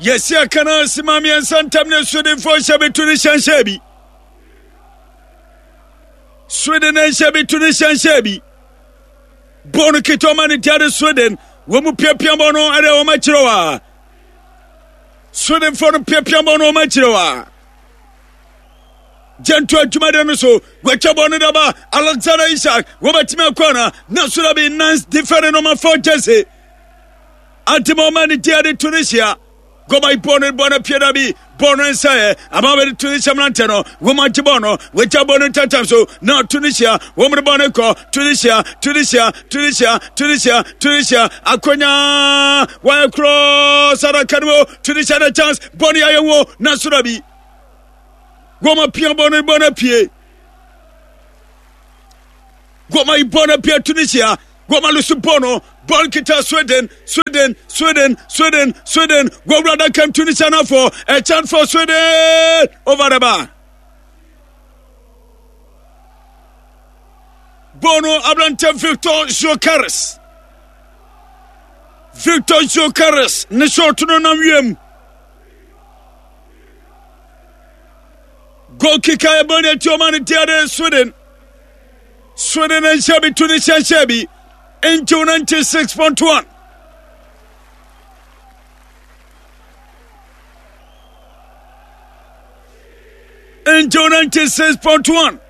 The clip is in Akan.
Yɛsi aka no asima mmiɛnsa ntam ne Swedenfoɔ nhyɛ bi Tunisia nhyɛ bi. Sweden nhyɛ bi Tunisia nhyɛ bi. Bɔɔl no ketewa ma ne tia de Sweden. Wɔn mu piapia bɔɔl no ɛde wɔn akyerɛ wa. Swedenfoɔ no piapia bɔɔl no wɔn akyerɛ wa. Gyanto adwumaden no so wɔatwa bɔɔl no daba Alexander Isak wɔbɛtumi akɔ ana na so da bi Nance defend no ma fɔ Jesse. Antima ɔma ne tia de Tunisia. Gɔba bɔ no bɔ no pie da bi bɔ no nsɛɛ ama bɛde Tunisia mmerantɛ no wɔn agye bɔ no wɔagya bɔ no ntantam so na Tunisia wɔn de bɔ no kɔ Tunisia Tunisia Tunisia Tunisia Tunisia akonya wɔayɛ korɔ sadaka no mu Tunisia na chance bɔ no yɛayɛ wo na so da bi wɔn apia bɔ no bɔ no apue wɔn ayi bɔ no apue Tunisia Goma lusu bɔ no bɔɔl kita Sweden Sweden Sweden Sweden Sweden wɔwura adaka mu Tunisia nafo a chance for Sweden over the bar. Bɔɔl no aberante Victor Gyokeres Victor Gyokeres ne shot no nam wiem. Goal kicker ɛbɔ ne ti ɔma ne tiade Sweden. Sweden nhyɛ bi Tunisia nhyɛ bi ntiw 96.1. Ntiw 96.1.